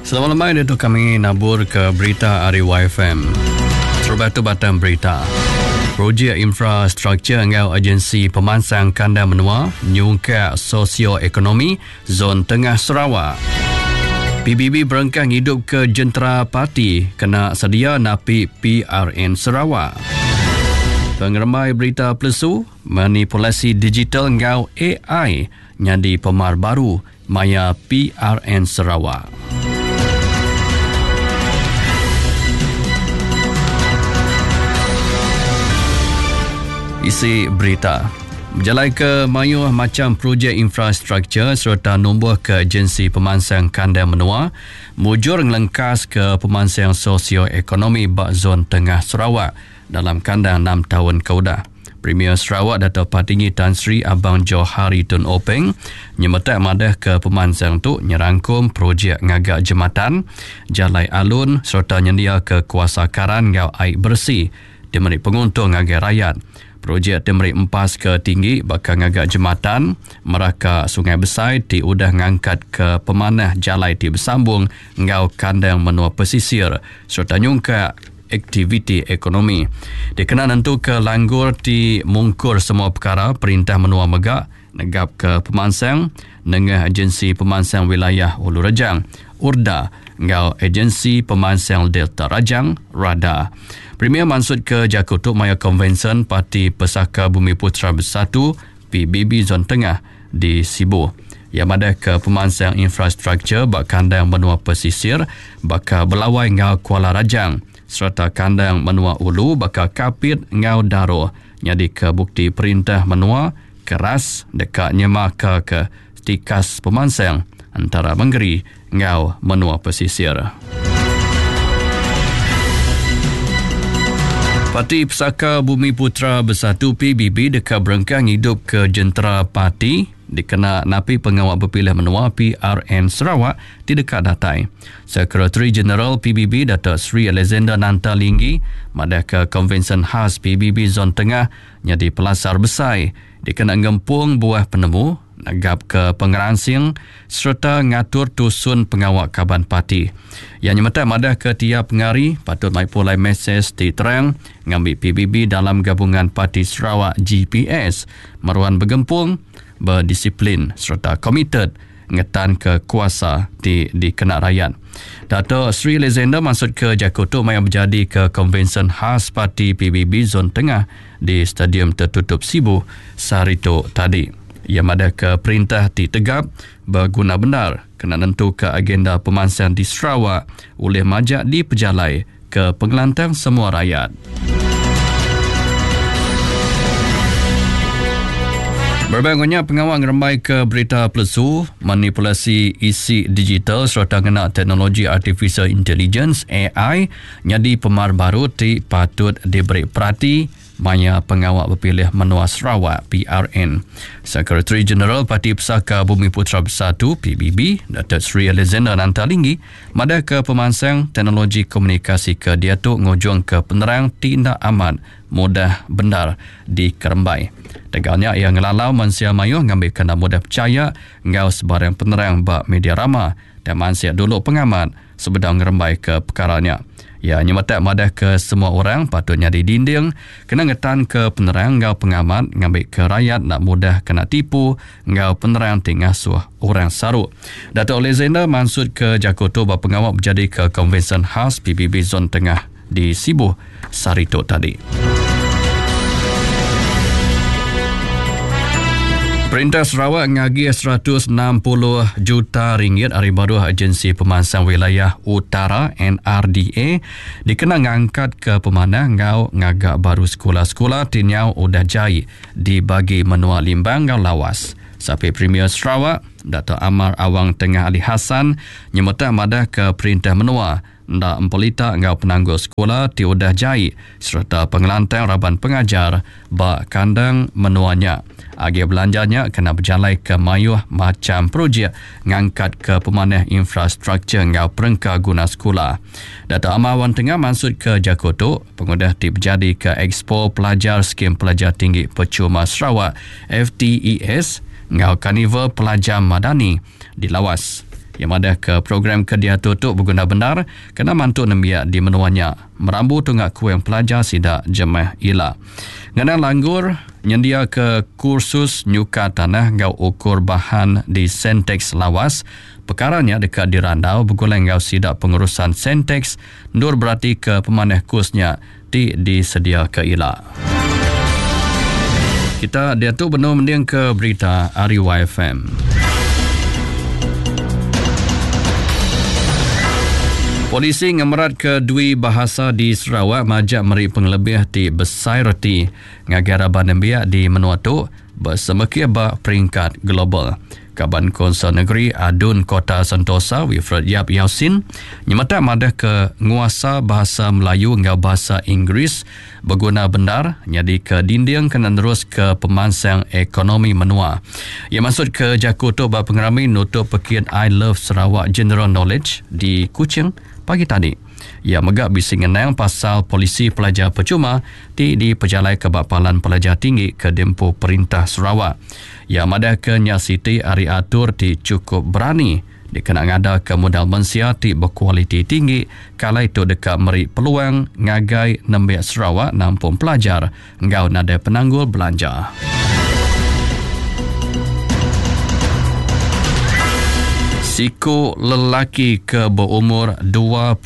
Selamat lemai ditu kami nabur ke berita ari YFM. Terubah tu batang berita. Projek infrastruktur enggau agensi pemansang kandang menua nyungkak sosioekonomi zon tengah Sarawak. PBB berengkah ngidupka jentera parti kena sedia napi PRN Sarawak. Pengerembai berita pelesu, manipulasi digital enggau AI nyadi pemar baru maya PRN Sarawak. Isi berita. Bejalaika mayuh macham projek infrastruktur sereta numbuhka agensi pemansang kandang menua mujur ngelengkaska pemansang sosioekonomi ba zon tengah Sarawak dalam kandang enam taun ke udah. Premier Sarawak Datuk Patinggi Tan Sri Abang Johari Tun Openg nyemetak madahka pemansang tu nyerangkum projek ngaga jematan, jalai alun sereta nyendiaka kuasa karan enggau ai beresi ti meri penguntung ngagai rayat. Projek ti meri empas ke tinggi baka ngaga jematan meraka sungai besai ti udah ngangkatka pemanah jalai ti besambung enggau kandang menua pesisir sereta nyungkak aktiviti ekonomi. Dikena nentuka langgur ti mungkur semua pekara, perintah menua mega negapka pemansang nengah Agensi Pemansang Wilayah Ulu Rejang, URDA, enggau Agensi Pemansang Delta Rajang, RADA. Premier mansutka jaku tu maya Konvensyen Parti Pesaka Bumiputera Bersatu, PBB, Zon Tengah di Sibu. Iya madahka pemansang infrastruktur ba kandang menua pesisir baka Belawai enggau Kuala Rajang sereta kandang menua ulu baka Kapit enggau Daro nyadika bukti perintah menua keras deka nyemaka ke tikas pemansang entara mengeri enggau menua pesisir. Parti Pesaka Bumiputera Bersatu PBB deka berengkah ngidupka jentera parti dikena napi pengawa bepilih menua PRN Sarawak ti deka datai. Sekretari Jeneral PBB Datuk Seri Alexander Nanta Linggi madahka Konvensyen Khas PBB Zon Tengah nyadi pelasar besai dikena ngempung buah penemu, negapka pengeransing sereta ngatur tusun pengawa kaban parti. Iya nyemetak madahka tiap pengari patut mai pulai mesej ti terang ngambi PBB dalam Gabungan Parti Sarawak, GPS, meruan begempung, bedisiplin sereta komited ngetanka kuasa ti dikena rayat. Dato Sri Alexander mansutka jaku tu maya bejadika Konvensyen Khas Parti PBB Zon Tengah di Stadium Tertutup Sibu sehari tu tadi. Iya madahka perintah ti tegap beguna bendar kena nentuka agenda pemansang di Sarawak ulih majak dipejalai ke pengelantang semua rayat. Berebak enggau nya, pengawa ngerembaika berita pelesu, manipulasi isi digital sereta ngena teknologi Artificial Intelligence, AI, nyadi pemar baru ti patut diberi perati maya pengawa bepilih menua Sarawak, PRN. Sekretari Jeneral Parti Pesaka Bumiputera Bersatu, PBB, Datuk Seri Alexander Nanta Linggi madahka pemansang teknologi komunikasi ke diatu ngujungka penerang ti enda amat mudah bendar dikerembai. Tegal nya iya ngelalau mensia mayuh ngambika enda mudah pechaya enggau sebarang penerang ba media rama tang mansik dulu pengamat sebedau ngerembaika pekara nya. Iya nyemetak madahka semua orang patut nyadi dinding kena ngetanka penerang enggau pengamat ngambika rayat enda mudah kena tipu enggau penerang ti ngasuh orang saru. Datuk Alexander mansutka jaku tu ba pengawa bejadika Konvensyen Khas PBB Zon Tengah di Sibu sehari tu tadi. Perintah Sarawak ngagih 160 juta ringgit ari baruh Agensi Pemansang Wilayah Utara NRDA dikena ngangkatka pemanah enggau ngaga baru sekula-sekula ti nyau udah jai di bagi menua Limbang enggau Lawas. Sapit Premier Sarawak, Datuk Amar Awang Tengah Ali Hassan nyemetak madahka perintah menua enda empelita enggau penanggul sekula ti udah jai sereta pengelantang raban pengajar ba kandang menua nya. Agih belanja nya kena bejalaika mayuh macham projek ngangkatka pemanah infrastruktur enggau perengka guna sekula. Datuk Amar Wan Tengah mansutka jaku tu pengudah ti bejadika Ekspo Pelajar Skim Pelajar Tinggi Percuma Sarawak, FTES, enggau Karnival Pelajar Madani di Lawas. Iya madahka program ke diatur tu beguna bendar kena mantu nembiak di menua nya merambu tunga kuing pelajar sida jemah ila. Ngena langgur nyendiaka kursus nyukat tanah enggau ukur bahan di Centexs Lawas, pekara nya deka dirandau begulai enggau sida pengurusan Centexs endur beratika pemanah kus nya ti disediaka ila. Kita diatu benung mendingka berita ari YFM. Polisi ngemeratka dwi bahasa di Sarawak majak meri pengelebih ti besai reti ngagai raban nembiak di menua tu besemekih ba peringkat global. Kaban Konsel Negeri ADUN Kota Sentosa Wilfred Yap Yausin nyemetak madahka nguasa Bahasa Melayu enggau Bahasa Inggeris beguna bendar nyadika dinding kena neruska pemansang ekonomi menua. Iya mansutka jaku tu ba pengerami nutup pekit I Love Sarawak General Knowledge di Kuching pagi tadi. Iya mega bisi ngenang pasal polisi pelajar pechuma ti dipejalaika ba palan pelajar tinggi ke diempu perintah Sarawak. Iya madahka nya siti ari atur ti chukup berani dikena ngadaka modal mensia ti bekualiti tinggi ke alai tu deka meri peluang ngagai nembiak Sarawak nampung pelajar enggau nadai penanggul belanja. Siku lelaki ke beumur 25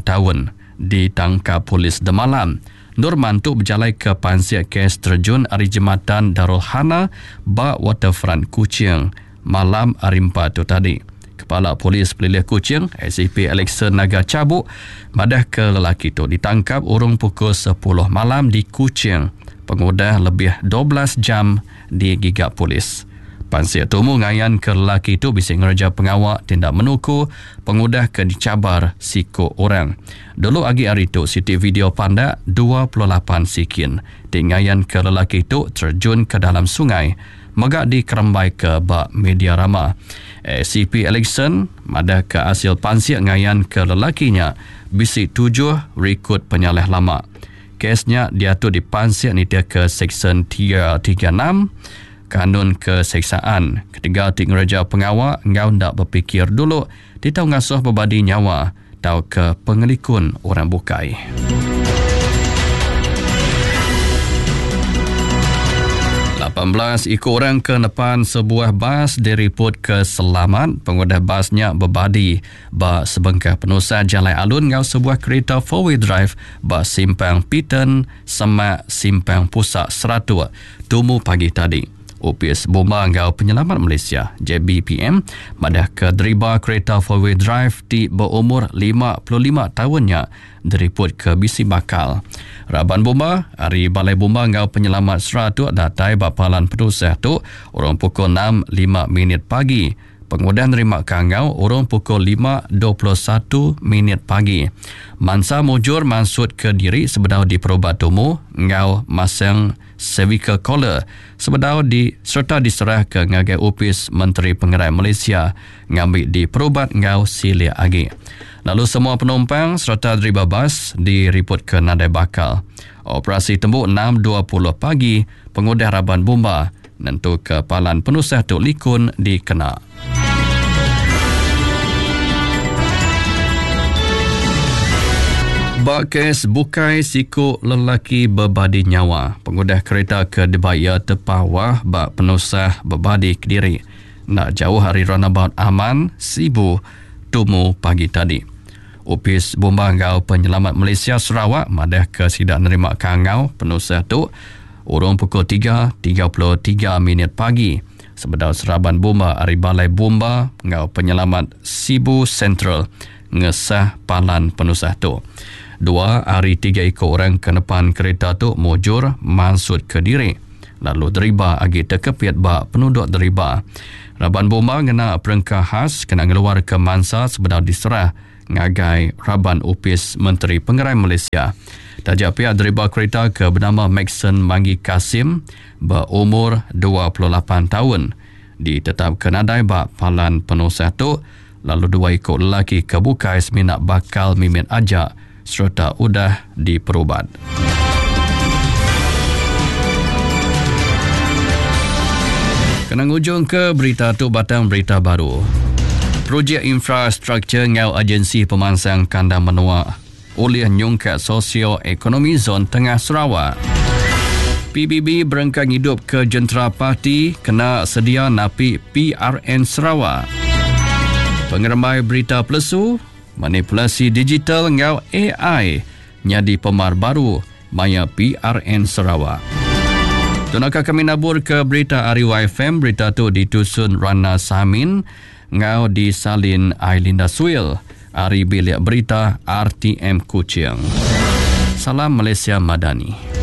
taun ditangkap polis demalam endur mantu bejalaika pansik kes terejun ari Jematan Darul Hana ba Waterfront Kuching malam Hari Empat tu tadi. Kepala Polis Pelilih Kuching, ACP Alexson Naga Chabuk madahka lelaki tu ditangkap urung pukul sepuluh malam di Kuching pengudah lebih 12 jam digiga polis. Pansik tumu ngayanka lelaki tu bisi ngereja pengawa ti enda menuku pengudah ke dichabar siku orang. Dulu agi ari tu siti video pandak 28 sikin ti ngayanka lelaki tu terejun ke dalam sungai mega dikerembaika ba media rama. ACP Alexson madahka asil pansik ngayanka lelaki nya bisi tujuh rikod penyalah lama. Kes nya diatu dipansik nitihka Seksyen 336 Kanun Keseksaan ketegal ti ngereja pengawa enggau enda bepikir dulu ti tau ngasuh bebadi nyawa tauka pengelikun orang bukai. 18 iku orang ke nepan sebuah bas diripotka selamat pengudah bas nya bebadi ba sebengkah penusah jalai alun enggau sebuah kerita four-wheel drive ba Simpang Piton semak Simpang Pusak Seratuk tumu pagi tadi. Opis Bomba enggau Penyelamat Malaysia, JBPM, madahka deriba kereta four-wheel drive ti beumur 55 taun nya diripotka bisi bakal. Raban bomba ari Balai Bomba enggau Penyelamat Seratuk datai ba palan penusah tu urung pukul enam lima minit pagi pengudah nerima kangau urung pukul 5:21 minit pagi. Mansa mujur mansutka diri sebedau diperubat tumu enggau masang cervical collar sebedau di sereta diserahka ngagai Opis Menteri Pengerai Malaysia ngambi diperubat enggau silik agi. Lalu semua penumpang sereta deriba bas diripotka nadai bakal. Operasi tembu 6:20 pagi pengudah raban bomba nentuka palan penusah tu likun dikena. Ba kes bukai siku lelaki bebadi nyawa pengudah kerita ke dibai iya tepawah ba penusah bebadi kediri enda jauh ari Runabout Aman, Sibu tumu pagi tadi. Opis Bomba enggau Penyelamat Malaysia Sarawak madahka sida nerima kangau penusah tu urung pukul 3:33 minit pagi sebedau seraban bomba ari Balai Bomba enggau Penyelamat Sibu Sentral ngesah palan penusah tu. Dua ari tiga iku orang ke nepan kerita tu mujur mansutka diri lalu deriba agi tekepit ba penuduk deriba. Raban bomba ngena perengka khas kena ngeluarka mansa sebedau diserah ngagai raban Opis Menteri Pengerai Malaysia. Taja pia deriba kerita ke benama Maxon Manggi Kasim beumur 28 taun ditetapka nadai ba palan penusah tu lalu dua iku lelaki ke bukai semina bakal mimit aja sereta udah diperubat. Kena ngujungka berita tu batang berita baru. Projek infrastruktur enggau agensi pemansang kandang menua ulih nyungkak sosio-ekonomi zon tengah Sarawak. PBB berengkah ngidupka jentera parti kena sedia napi PRN Sarawak. Pengerembai berita pelesu, manipulasi digital enggau ai nyadi pemar baru maya PRN Sarawak. Tu naka kami naburka berita ari YFM, berita tu ditusun Rana Samin enggau disalin Ailinda Suil ari Bilik Berita RTM Kuching. Salam Malaysia Madani.